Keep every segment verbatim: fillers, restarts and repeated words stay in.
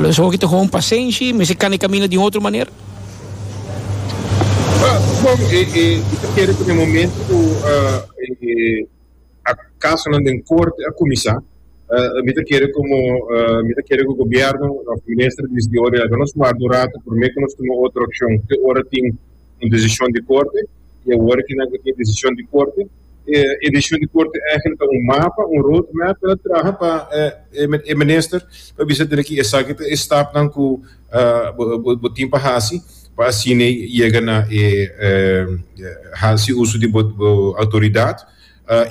Dus hoor ik gewoon pasenshi, maar ze kan ik di otro manera. Bom, e, e, mi kere ku na momento ku uh, e, e kasonan den korte a kuminsá, uh, mi kere komo uh, mi kere ku gobièrnu, e minister di ora nos warda ratu promé ku nos tuma otro akshon, ku ora tin un desishon di korte i awor ku nan tin desishon di korte, e desishon di korte eigenlijk un mapa, un roadmap pa traha pa e minister pa bisa ku esaki ta e stapnan ku bo tin pa hasi pa asina yega na e hasi uso di outoridat.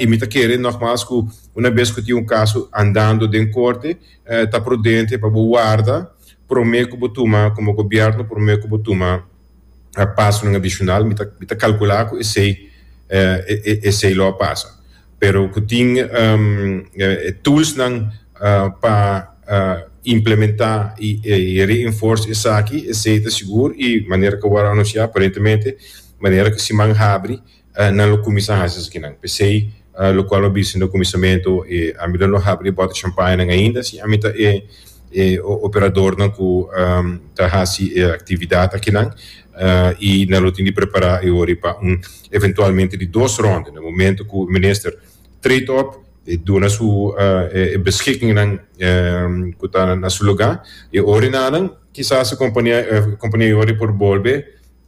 I mi ta kere nogmaals ku un bes ku tin un kaso andando den korte, ta prudente pa warda promé ku tuma komo gobièrnu, promé ku tuma paso adishonal. Mi ta kalkulá ku esei esei lo pasa, pero ku tin um, tools nan uh, pa uh, implementá i, i reinforce esaki, esei ta sigur. I manera ku a anunsiá, aparentemente manera ku siman habri uh, nan lo kuminsá hasi esakinan. P'esei uh, lokual a bisa na kuminsamentu e ami no habri bòter champagne ainda si ami ta e e operadornan ku um, ta hasi e aktividat akinan uh, i nan lo tin di prepará e ori pa un eventualmente di dos ronde. Na momento ku minister treedt op, duna su uh, beschikkingen um, ku ta na su lugá e ori nan kisas e kompania kompania ori por bolbe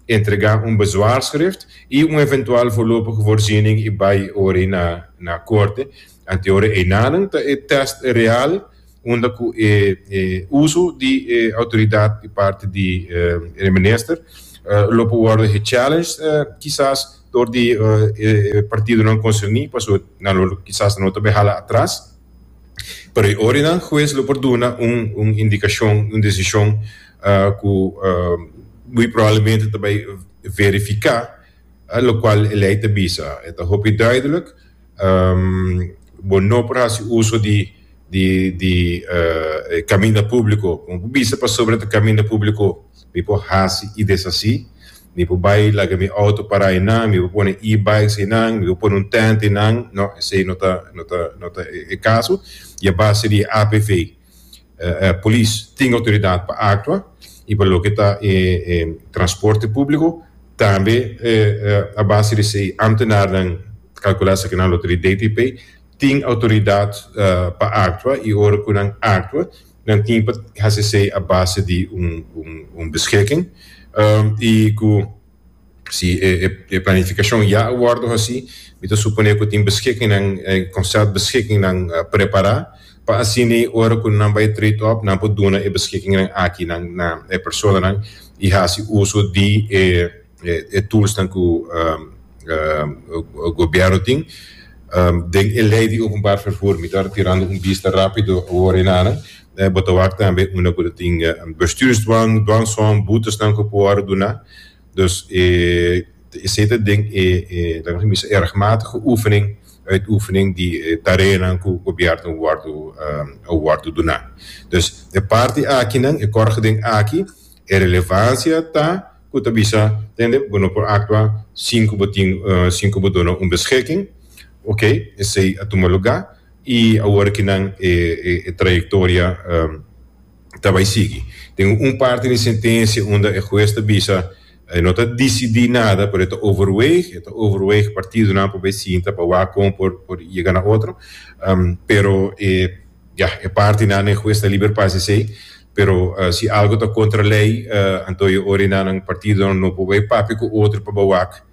entregá un bezwaarschrift i un eventual voorlopige voorziening i bai ori na na korte. Anto ora einan ta e test real unda ku e, e uso di e, outoridat di parti di e, minister uh, lo por worden gechallenged uh, kisas door di uh, e partidonan konserní, paso nan kisas no ta hala atras, pero e ori nan hues lo por duna un un indikashon, un desishon uh, ku uh, muy probablemente tambe verifiká uh, lokual e lei ta bisa. E ta hopi duidelijk, um, bo no por hasi uso di di di uh, kaminda públiko. Komo bisa, pasobra e kaminda públiko, mi por hasi i deshasí, mi por bai laga mi outo para einan, mi por pone e-bikes einan, mi por pone un tent einan. No, esei no ta no ta no ta e kaso. I a base di A P V, uh, uh, polis tin outoridat pa aktua i pa loke ta eh, eh, transporte públiko tambe, eh, a base di esei ambtenaren, kalkulá ku nan di D T P tin outoridat uh, pa aktua i ora ku nan aktua, nan tin pa hasi a base di un, un, un beschikking um, i ku si e, e planifikashon ya a wòrdu hasí, mi ta suponé ku tin beschikkingnan, conceptbeschikkingnan uh, prepará pa asina ora ku nan bai treed op, nan por duna e beschikkingnan aki nan na e personanan i hasi uso di e, e, e tools nan ku um, uh, gobièrnu tin um, den e lei di openbaar vervoer. Mi ta tirando un bista rápido awor einan, eh, bo ta wak tambe unda ku tin uh, bestuursdwang, dwangsom, boetes nan ku por duna. Dus eh, esei ta den e eh, eh, bisa rechtmatige oefening, uitoefening di eh, tareanan ku gobièrnu wòrdu um, wòrdu duna. Dus e parti akinan, e kort geding aki, e relevansia ta ku ta bisa, tende, bo no por aktua sin ku bo tin uh, sin ku bo duna un beschikking. Ok, esei a tuma lugá i awor akinan e, e, e trayektoria um, ta bai sigui. Tin un parti di sentensia unda e hues ta bisa eh, no ta disidí nada, pero ta overweeg, ta overweeg partidonan pa sinta pa wak kon por por yega na otro. Um, pero eh, ja, e partinan, e hues ta liber pa esei, pero uh, si algo ta kontra lei, uh, anto e ora einan partido no por papia ku otro pa wak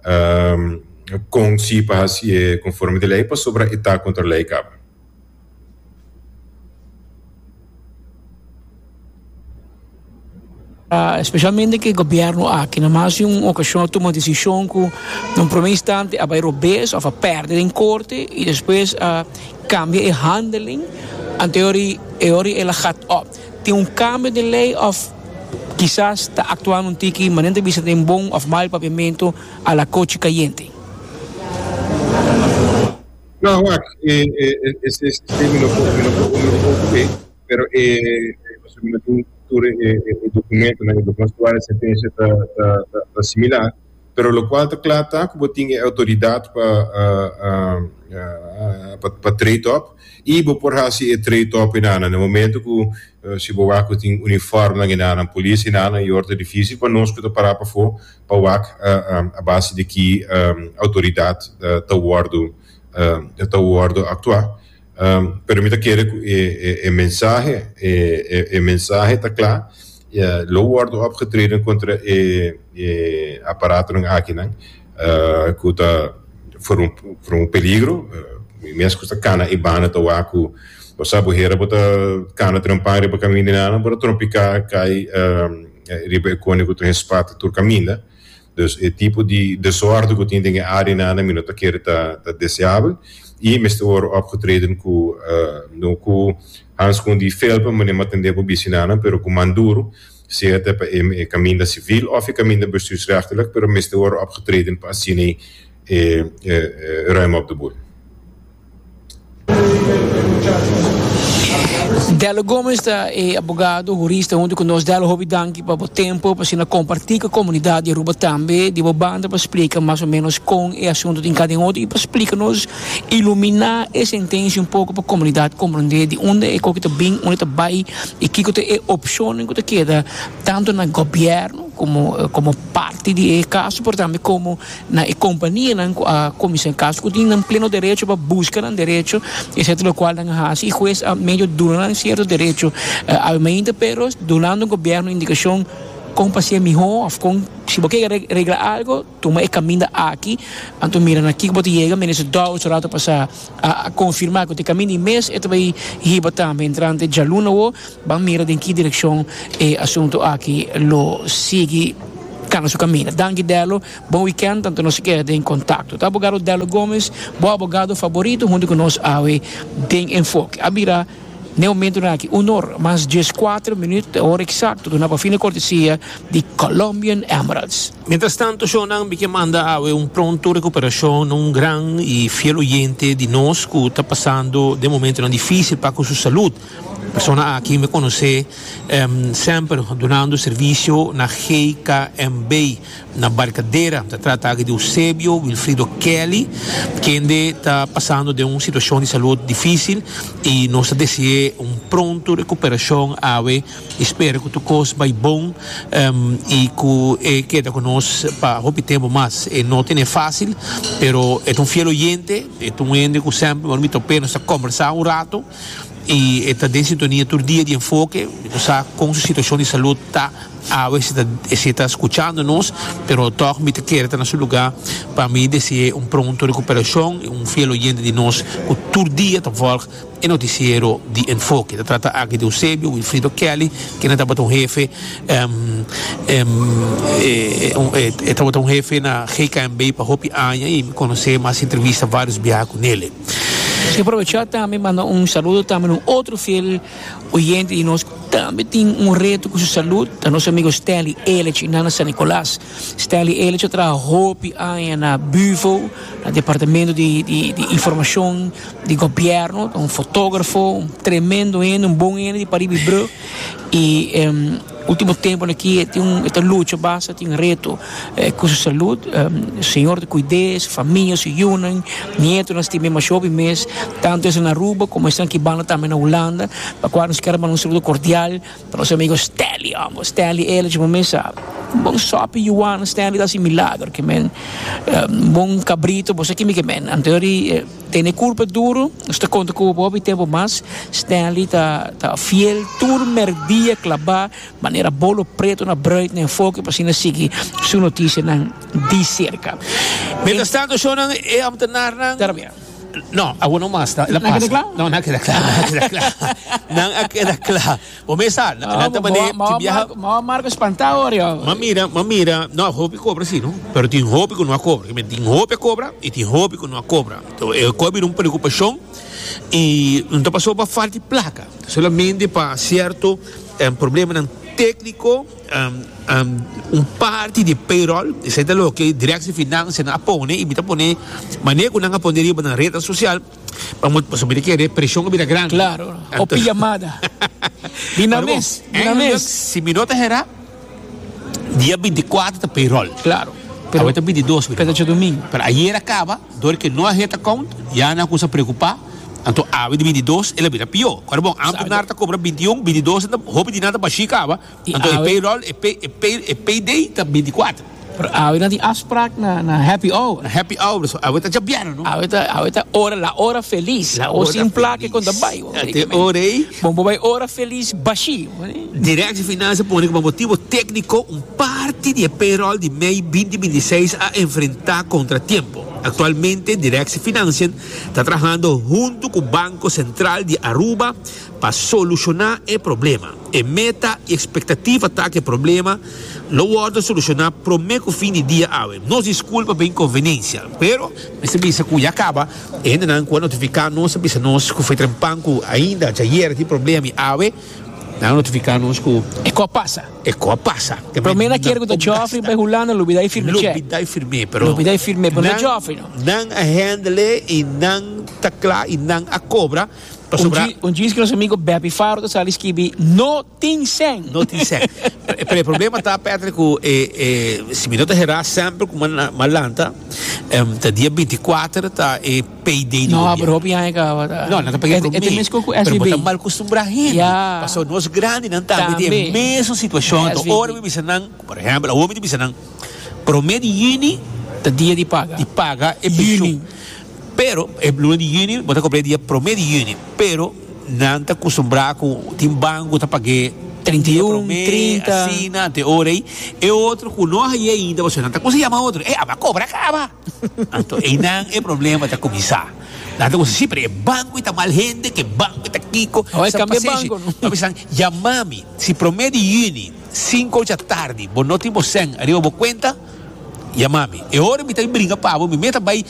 um, kon si pa hasi konforme di lei, pasobra e ta kontra lei kaba. Uh, espesialmente ku e gobièrnu aki, na mas di un okashon a tuma desishon ku na un promé instante a bai robes òf a pèrdè den korte i despues a kambia e handeling, anto e ora el a gaat op. Tin un kambio di lei òf kisas ta aktuando un tiki, manera bisa den bon òf mal papiamentu, a la kochi kayente? No, wak, eh, eh, ese sistema no por, no por, no por, pero eh, mi no tin tur e, e dokumentonan, e dokumento di sentensia ta, ta, ta, ta similar, pero lokual ta kla ta ku tin outoridat pa uh, uh, pa, pa treed op. I bo por hasi e trade-off na na momento ku uh, si bo wak tin uniform na na polis na na e ora difísil pa nos ku ta para pafó pa wak uh, um, a base di ki um, outoridat uh, ta wòrdu uh, ta wòrdu aktuá. Um, pero mi ta kere e, e, e mensahe e, e, e mensahe ta kla. Ja, lo wòrdu opgetreden kontra e, e aparatonan aki nan uh, ku ta voor un voor un peligro. uh, mes ku ta kana i bana ta wak ku bo sa bo hera bo ta kana trompa riba kaminda nan bo trompiká kai um, riba e kone ku tin spat tur kaminda. Dus e tipo di desorden ku tin den e área nan mi no ta kere ta ta deseabel i mester wòrdu opgetreden ku uh, no ku handschoen di felpa manera mi a tende bo bisa nan, pero ku man duru, sea ta pa e kaminda sivil òf e kaminda bestuursrechtelijk, pero mester wòrdu opgetreden pa asina eh, eh, ruim op de boel. Dello Gomes ta e abogado, hurista huntu ku nos. Dello, hopi danki pa e tempu, pa asina kompartí ku e komunidat di Aruba tambe, di banda pa splika mas o ménos kon e asuntu tin kada otro i pa splika nos, iluminá e sentensia un poko pa e komunidat komprondé di unda e kos ta bin, unda ta bai i kiko ta e opshon ku ta keda tantu na gobièrnu komo komo parti di e kaso, pero tambe komo na e kompania nan a kuminsá kaso ku tin pleno derecho pa buska nan derecho, etcétera, lo kual nan hasi i hues a medio duna nan sierto derecho uh, pero dunando gobièrnu indikashon kon pa hasié mihó òf kon si bo ke regla algu, tuma e kaminda aki, anto mira na kiko bo ta yega. Minister Dowers rato pasá a, a konfirmá ku e kaminda mes e tambe hiba tambe entrante djaluna o ban mira den ki direkshon e asuntu aki lo sigui kana su kaminda. Danki, Dello, bon weekend, anto nos keda den kontakto. Ta abogado Dello Gomes, bo abogado favorito, huntu ku nos awe den Enfoke. A bira na momento aki un or mas dieskuater minüt, ora eksakto, na fina kortesia di Colombian Emeralds. Mientras tanto, shonnan, mi ke manda awe un pronto rekuperashon, un gran i fiel oyente di nos ku ta pasando den momentu difísil pa ku su salú. Persona aki mi konosé um, semper dunando servisio na G K M B na Barcadera. Ta trata di Eusebio Wilfrido Kelly, ku ta pasando den un situashon di salú difísil i nos ta deseá un pronto rekuperashon awe, spera ku tur kos bai bon um, i ku e keda ku nos pa hopi tempu mas. E no ta fásil, pero e un fiel oyente, e un hende ku semper mi topa, nos kombersá un ratu i ta den sintonia tur dia di Enfoke, sa kon su situashon di salú ta awe, si ta skuchando nos, pero toch mi ke ta na su lugá pa mi deseá un pronto rekuperashon, un fiel oyente di nos ku tur dia ta volg e notisiero di Enfoke. Ta trata aki di Eusebio Wilfrido Kelly, ku tabata un hefe um, um, eh, eh, tabata un hefe na G K M B pa hopi aña i mi konosé mas entrevista vários biaha kuné. Si aprovechá tambe, manda un saludo tambe un otro fiel oyente di nos tambe tin un reto ku su salú, ta nos amigu Stanley Elich na San Nicolas. Stanley Elich a traha hopi aña na BUVO, na departamento di, di, di informashon di gobièrnu, un fotógrafo, un tremendo hende, un bon hende di Pariba Brug. I um, último tempu aki tin un ta lucha basta, tin un reto eh, ku su salú. Um, Señor ta kuida su famia, su yunan, nietu, nos tin mas hopi mes, tantu na Aruba komo esnan aki banda tambe na Hulanda, pa kual nos ke manda un saludo kordial pa nos amigu Stanley, amo Stanley Elich, mesa un bon sopi yuana, Stanley ta un milager, ke men un bon kabritu, bo aki mi ke men anto eh, tene kurpa duru, nos ta konta ku hopi tempu mas. Stanley ta ta fiel tur merdia klabá manera bolo pretu na bruid na Enfoke pa asina sigui su notisianan di serka. Mientras tanto, shonnan, e ambtenaarnan. Termina. No, awor no mas, la Nan pasa. keda kla? No, nan a keda kla, nan a keda kla. Nan a keda kla. Bo mesa, nan ta mane, Ma ti biaha. Ma Marco spantá ora. Ma mira, ma mira, no, hopi kobra sí, no? Pero tin hopi ku no a kobra. Tin hopi a kobra i tin hopi ku no a kobra. Anto, e kobra un preokupashon i no pasó pa falta di plaka. Solamente pa sierto um, problema tékniko, um, um, un parti di payroll, esei ta loke Directie Financiën a pone i mi ta pone manera ku nan a pone riba na ret sosial pa pa mi kere preshon a bira grandi. Claro, o yamada. Di na mes, di na mes. Si mi no ta hera, dia bintikuater ta payroll. Claro. Pero ta bintidos. Pero djadumingu. Pero ayera a kaba, dor ku no a hit account, ya nan a preokupá. Anto awe di bintidos el a bira pió. Kòrda bon, ámtenar ta kobra bintiun, bintidos ta hopi di nan ta bashí kaba. Anto e payroll, e pay, e pay, e payday ta bintikuater. Pero awe nan tin afspraak na na happy hour. Na happy hour, so awe ta djabièrnè, no? Awe ta, awe ta ora, la ora felis. La O ora sin plaka e felis. kon ta bai. Te ora ei. Bon bo bai ora felis bashí. Directie Financiën pone ku pa motibo tékniko un parti di e payroll di mei binti binti i seis a enfrentá kontratiempo. Aktualmente Directie Financiën ta trahando huntu ku Banko Sentral di Aruba pa solushoná e problema. E meta i ekspektativa ta ku e problema lo wòrdu solushoná promé ku fin di dia awe. Nos diskulpa pa e inkonveniensia, pero mester bisa ku ya kaba e hendenan ku a notifiká nos a bisa nos ku foi trempan ku ainda djayer tin problema i awe nan a notifiká nos ku E ko a pasa. E ko a pasa. Promé nan kier ku ta Geoffrey bai Hulanda lubidá i firm'é chèk. Lubidá i firm'é, pero Lubidá i firm'é, pero no ta Geoffrey no. Nan a handle i nan ta kla i nan a kobra. Pasobra. Un djis ku nos amigo Beppy Faro ta sali skibi, No tin sèn. No tin sèn. Pero e problema ta, Patrick, ku e e si mi no ta herá semper ku mi a lanta, ta dia binti kuater ta e payday di No, gobièrnu. pero hopi aña kaba ta. No, nan ta paga e E ta promé. mes ku Pero bo S V B. ta mal kustumbrá hende. Ya. Pasobra nos grandinan tambe tin e Tambe. mesun situashon. Anto S V B. ora mi bisa nan, por ehèmpel, awor mi ta bisa nan, promé di yüni Ta dia di paga. di paga e penshun. Yüni. Pero e luna di yüni bo ta kobra e dia promé di yüni, pero nan ta kustumbrá ku tin banko ta pag'é Trinta i dia un, promé, trinta. asina, te ora ei. E otro ku no a hañ'é ainda pasobra nan ta kuminsá yama otro, Ey, aba kobra kaba! Anto einan e problema ta kuminsá. Nan ta kuminsá, Sí, pero e banko ei ta mal hende, ku e banko ei ta kiko. Awor e Sa kambia pasenshi. banko, no? Nan bisa nan, Yama mi, si promé di yüni, sinku ocha tardi, bo no tin bo sèn ariba bo kuenta, Yama mi. E ora mi ta bringa pa bo, mi meta bai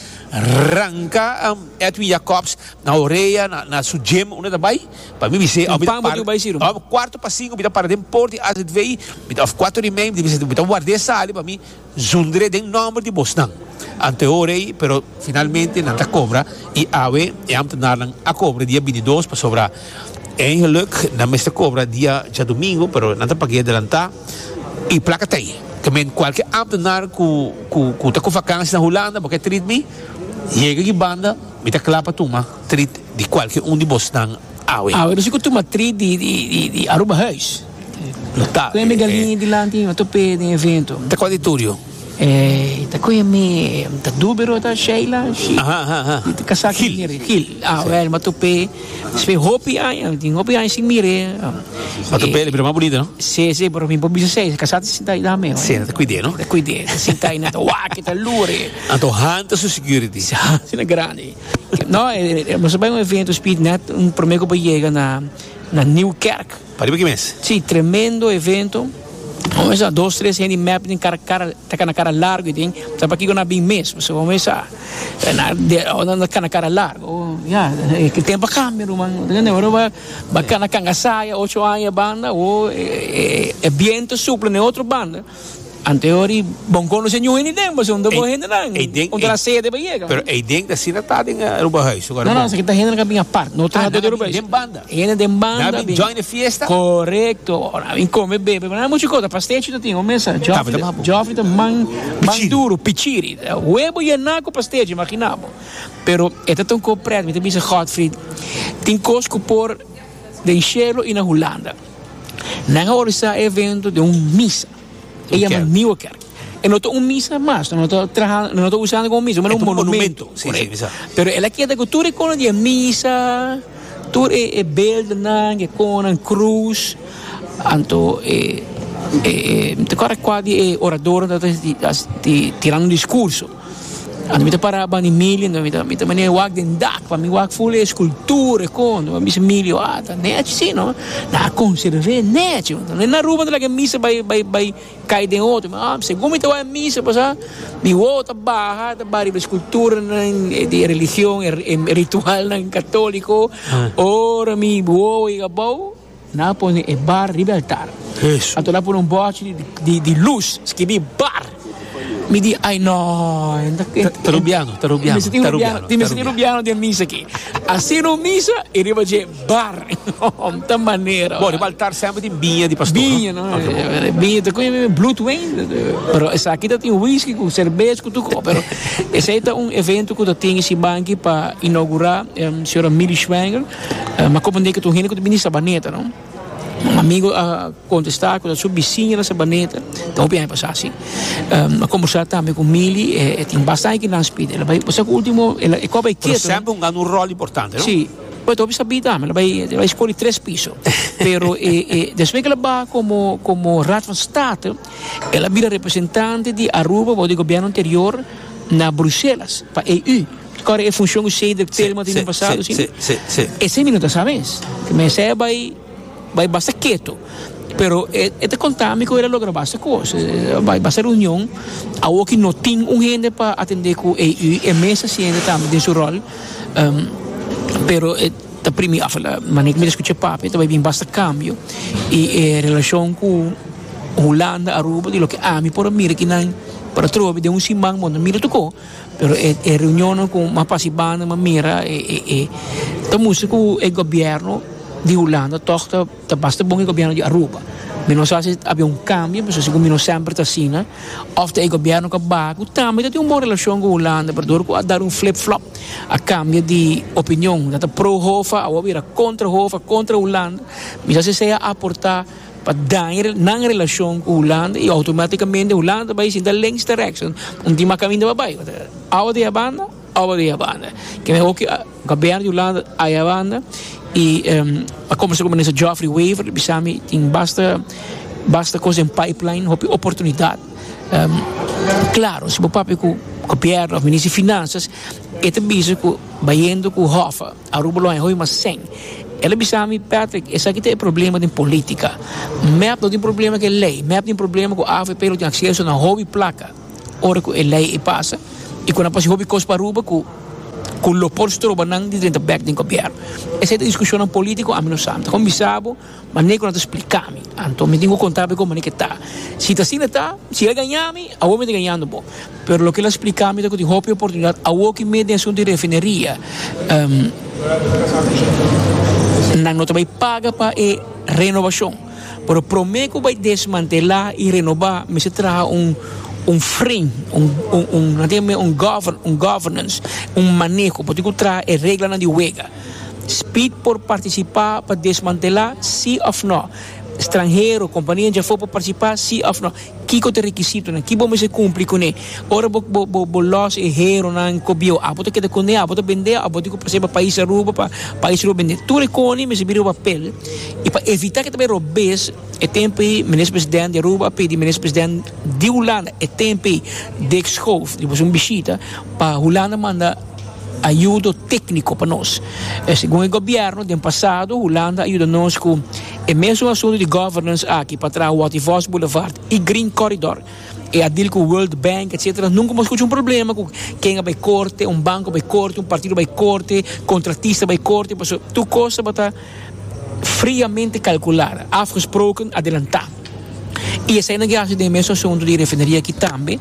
ranka Edwin Jacobs na orea, na na su gym unda ta bai, pa mi bis'é, Un mi ta pan bo para, tin bai si ruman. kuarto pa sinku mi ta para den port di A Z V, mi ta, of kuater i mei, mi ta bisa, mi ta ward'é sali pa mi zundr'é den nòmber di bosnan. Anto e ora ei, pero finalmente nan ta kobra i awe e ambtenarnan a kobra dia binti dos pasobra eigenlijk nan mester kobra dia djadumingu, pero nan ta pag'é adelantá. I plaka ta ei. Ke men kualke ámtenar ku ku ku ta ku vakansi na Hulanda bo ke trit mi, yega aki banda mi ta kla pa tuma trit di kualke un di bosnan awe. Awe nos ku tuma trit di di di di Arubahuis. No ta Koe mi galiña dilanti mi tope den evento. Ta kua di Turio? Eh, ta koe mi ta Dubero ta Sheila Shi. Aha aha aha. Di kasá ku Gil. Mire Gil. Ah wèl mi a tope despues hopi aña, tin hopi aña sin mir'é. Ma tope el bira mas bunita no? Sí, sí, pero mi por bisa esei, kasá ta sinta ei dame. Sí, nan ta kuid'é no? Ta kuid'é, ta sinta ei, nan ta wak, ta lure. Anto Han ta su security. Sí, Han ta grandi. No, nos a bai un evento speed net un promé ku bo yega na na Nieuwkerk. Pariba ki mes? Sí, tremendo evento. Bo mesa dos tres hende mep den kara kara ta kana kara largo i den sa pakiko nan a bin mes pasobra bo mesa nan ta kana kara largo ya e tempo a kambia ruman ora bo ba kana kanga saya ocho aña banda awo e biento supla na e otro banda anto e ora bon konosé niun hende den pasobra unda bo hendenan unda nan sede pa yega. Pero eiden ta asina ta den Arubahuis No no esaki ta hendenan ku a bin apart no trahador di Arubahuis. Den banda. Hende den banda. Nan a bin join e fiesta. Korekto. Nan a bin kome bebe pero nan muchu kos ta pastechi ta tin un mesa Joffrey ta man man duru pichiri huevo yená ku pastechi imagina bo pero e ta ta un kos pret mi ta bisa Godfried tin kos ku por den shelo i na Hulanda nan a organisa e evento den un misa. E yama Nieuwe Kerk. E no ta un misa mas, no ta traha, no ta usando como misa, ma un monumento. Sí, sí, misa. Pero el a keda cu tur e conan di e misa, tur e e beeldennan, e conan, cruz. Anto e e mi ta acorda cua di e oradornan ta ta tirando un discurso. Anto mi ta para banda Emilio, anto mi ta mi ta manera wak den dak, pa mi wak ful e escultura, e con. Anto mi bisa Emilio, ah, ta nechi si, no? Nan a conserv'é nechi. Anto na Aruba nan ta laga e misa bai bai bai kai den otro. Mi ah, segun mi ta wak e misa pasá, mi wowo ta baha, ta baha riba e esculturanan di e religion, e ritualnan catolico. Ora mi wowo yega abou, Nan a pone e bar riba e altar. Anto nan a pone un bòchi di di lus skibí bar. Mi di, ai no. Ta rubiano, ta rubiano. Mi rubiano, mi senti rubiano den misa aki. Asina misa i riba dje bar. Ta manera. Bon, riba altar semper tin biña di pastor. Biña, no? Biña, ta ku bloedwijn. Pero esaki ta tin whisky ku serbes ku tur. Pero esei ta un evento ku tin e siman aki pa inougurá um, señora Mili Schwanger. Uh, ma komo ku tur hende ku bini Sabaneta, no? Un amigu a kontestá ku su bisiña na Sabaneta, anto bin pasa asina. Um, a kombersá tambe ku Mili, e, tin bastante ku nan speed. El a bai, pasobra último, el a bai ketu. Semper un un ròl importante, no? Si. Pues tur sabi tambe, el a bai, el a bai skohe tres piso. Pero eh, eh, despues ku el a bai komo komo Raad van State, el a bira representante di Aruba, di gobièrnu anterior, na Bruselas, pa E U. Awor e funshon ku Cedric Telma tin pasado, si? Si, si, si. Esei mi no sabi, ku mi sa bai bai basta ketu. Pero e ta konta mi ku el a logra basta kos. Bai basta reunion. Awor ku no tin un hende pa atendé ku E U, e mes hasiendo tambe den su ròl. Um, pero e ta primi afala, manera mi skucha papia, tambe bin basta kambio i e relashon ku Hulanda, Aruba, di loke ami por mira ku nan para trobe di un siman, bon, mira toko, pero e, e reunion ku m'a pasa banda, m'a mira e e e ta mustra ku e gobièrnu di Hulanda toch ta, ta basta bon e gobièrnu di Aruba. Mi no sa si tabatin un kambio, ma segun mi no semper ta asina, òf e gobièrnu ku a bai, tambe tin un bon relashon ku Hulanda, pero dor ku a dal un flip-flop, a kambio di opinion, ta pro HOFA, a bira kontra HOFA, kontra Hulanda, mi sa si a aportá pa daña nan relashon ku Hulanda i outomátikamente Hulanda bai sinta links te rechts, un dia kaminda bai. Awa di banda, awa di banda. Ku mi ook gobièrnu di Hulanda ei banda i um, a kombersá ku minister Geoffrey Wever, bisa mi tin basta basta kos den pipeline, hopi oportunidat. Um, klaro, si bo papia ku gobièrnu òf minister di Finansa, e ta bisa ku bayendo ku HOFA, Aruba lo hoi mas sèn. El a bisa mi, "Patrick, esaki ta e problema di polítika. MEP no tin problema ku lei, MEP tin problema ku A V P no tin akseso na hopi plaka. Ora ku e lei pasa, i ku pasa hopi kos pa Aruba ku ku lo por stroba nan di drenta bèk den gobièrnu." Esei ta diskushon polítiko, ami no sa. Komo bisa bo, ma neko no ta splika mi. Anto mi tin ku konta kon ku ta. Si ta asina ta, si el gaña mi, awor mi ta gañando bo. Pero loke el a splika mi ta ku tin hopi oportunidat, awor ku mi den asuntu di refineria, um, nan no bai paga pa e renovashon. Pero promé ku bai desmantelá i renobá, mester traha un un frame, un un un, un, un, govern, un governance, un maneho, pasobra traha e reglanan di wega. Speed por partisipá pa desmantelá, si òf no? Stranhero, kompania di afó por partisipá, si òf no? Kiko ta e rekisitonan? Kiko bo kumpli kuné? Ora bo bo bo bo los e heronan kobio, abo ta keda kuné, abo ta bende, abo ta ku pa pais Aruba, pa pais Aruba bende. Tur e kos mester bira papel. I pa evitá ku tambe robes, e tempu minister presidente di Aruba pidi minister presidente di Hulanda, e tempu Dick Schoof, di un bishita, pa Hulanda manda ayudo tékniko pa nos. Eh, segun e gobièrnu, den pasado, Hulanda a yuda nos ku e mesun asuntu di governance aki pa traha Watty Vos Boulevard i Green Corridor. E a deal ku World Bank, et cetera. Nunka m'a skucha un problema ku ken bai korte, un banko bai korte, un partido bai korte, kontratista bai korte, tur kos ta friamente kalkulá, afgesproken, adelantá. I esei nan a hasi e mesun asuntu di refineria aki tambe.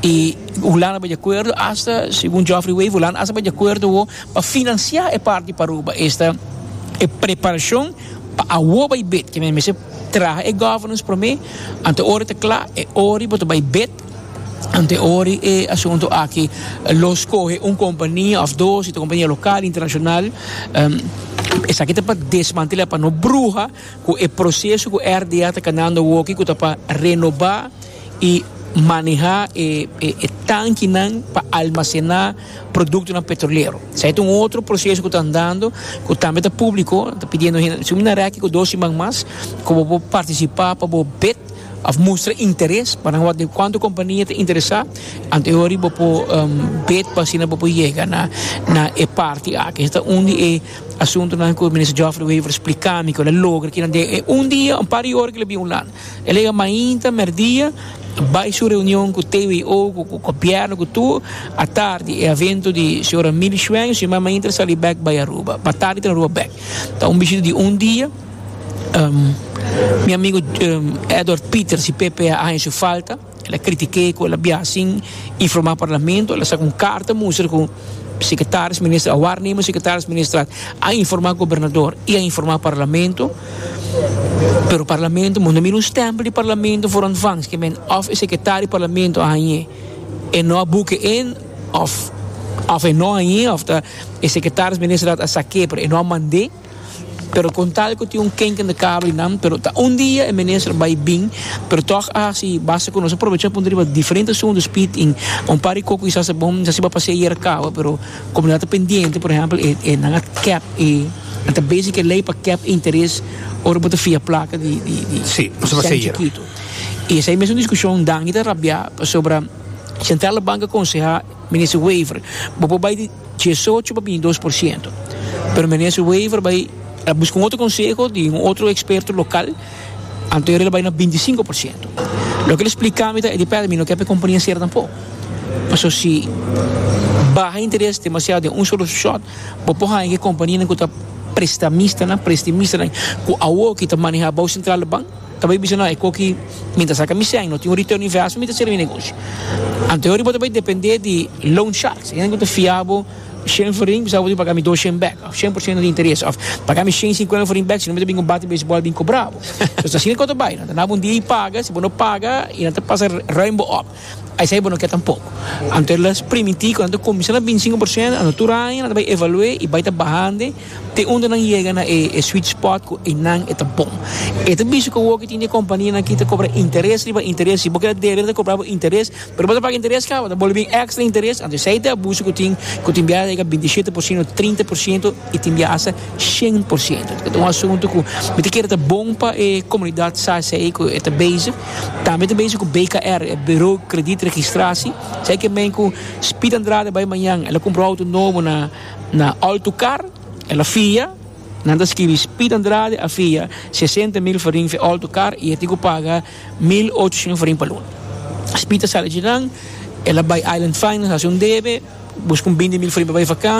I Hulanda bai di akuerdo, hasta, segun Geoffrey Wever, Hulanda hasta bai di akuerdo pa finansiá e parti pa Aruba. Esta e preparashon pa awor bai bid, ku mester traha e governance promé, anto ora ta kla, e ora bo bai bid, anto ora e asuntu aki lo skohe un kompania òf dos, un kompania lokal, internashonal, um, esaki ta pa desmantelá, pa no bruha ku e proseso ku R D A ta kanando aki, ku ta pa renobá i manehá e, e, e tankenan pa almasená produktonan petrolero. Esei ta un otro proseso ku ta andando, ku tambe ta públiko, ta pidiendo, si un reki ku dos siman mas, ku bo partisipá pa bid, òf mustra interes pa wak kuantu kompania ta interesá, anto bo por um, bid pa asina bo por yega na na e parti aki. Ta un di e asuntunan ku minister Geoffrey Wever splika mi ku el a logra ku un dia, un par di ora ku el a bin Hulanda. El a yega mainta, merdia, bai su reunion ku T W O, ku gobièrnu, ku tur, atardi e evento di señora Mili Schweng, si mainta sali bèk bai Aruba. Pa tardi ta Aruba bèk. Anto un bishita di un dia. Um, mi amigu um, Edward Peters, P P A, su falta. El a kritik'é ku el a biaha sin informá Parlamento. El a saka un karta mustra ku secretaris minister, a waarnemer secretaris minister a informá gobernador i a informá Parlamento. Pero Parlamento, mi no mira un stempel di Parlamento voor ontvangst. Ke men òf e sekretario di Parlamento a hañ'é e no a boek in òf òf e no a hañ'é òf ta e secretaris minister a sak'é pero e no a mand'é. Pero kon tal ku tin un kink in de kabel nan, pero ta un dia e minister bai bin, pero toch a hasi basta ku nos a probechá puntra riba diferente asuntu Speed in un par di koko kisas ta bon si bo pas'é yera kaba, pero komunidat ta pendiente, por ehèmpel e e nan a kèp e nan ta bezig ku e lei pa kèp interes ora bo ta fia plaka di di di Sí, nos a pas'é sèn yera. Chikitu. I esei mes un diskushon Dangui ta rabiá pasobra Centrale Bank a konsehá minister Wever bo por bai di diesocho pa binti dos por siento, pero minister Wever bai a buska un otro konseho di un otro eksperto lokal, anto el a bai na binti sinku por siento. Loke el a splika mi ta e di pèrdè mi no ke pa e kompania sera tampoko. Pasobra si baha interes demasiado den un solo shot, bo por haña ku e kompanianan ku ta prestamistanan, prestimistanan, ku awoki ta manehá bou Centrale Bank, ta bai bisa no e koki mi ta saka mi sèn, no tin un return investment, mi ta sera mi negoshi. Anto ora bo ta bai dependé di loan sharks, hende ku ta fia bo shen florin, bisa bo tin paga mi dos shen bèk, òf shen por siento di interes, òf paga mi shen sinkuenta florin bèk, si no mi ta bin ku un bate beisbòl bin kobra bo. Entonces asina ku ta bai, nan ta dabo un dia i paga, si bo no paga i nan ta pasa ruim bo òp. Esei bo no ke tampoko. Anto el a primintí ku nan ta kuminsá na binti sinku por siento, anto tur aña nan ta bai evalu'é i bai ta bahande te unda nan yega na e e sweet spot ku einan e ta bon. E ta bisa ku awor ku tin di e kompanianan aki ta kobra interes riba interes. Si bo keda debe nan ta kobra bo interes, pero bo ta paga interes kaba, ta bolbe bin èkstra interes. Anto esei ta e abuso ku tin, ku tin biaha ta yega binti shete por siento, trinta por siento i tin biaha asta shen por siento. Ta un asuntu ku mi ta kere ta bon pa e komunidat sa esei ku e ta bezig. Tambe ta bezig ku B K R, e Bureau Krediet Registratie. Esei ke men ku Speed Andrade bai mañan, el a kumpra un outo nobo na na Autocar, el a fia, nan ta skibi Speed Andrade a fia sesenta mil florin fi Autocar i e tin ku paga mil ocho florin pa luna. Speed a sali dje nan, el a bai Island Finance, hasi un debe, buska un binti mil florin pa bai vakansi.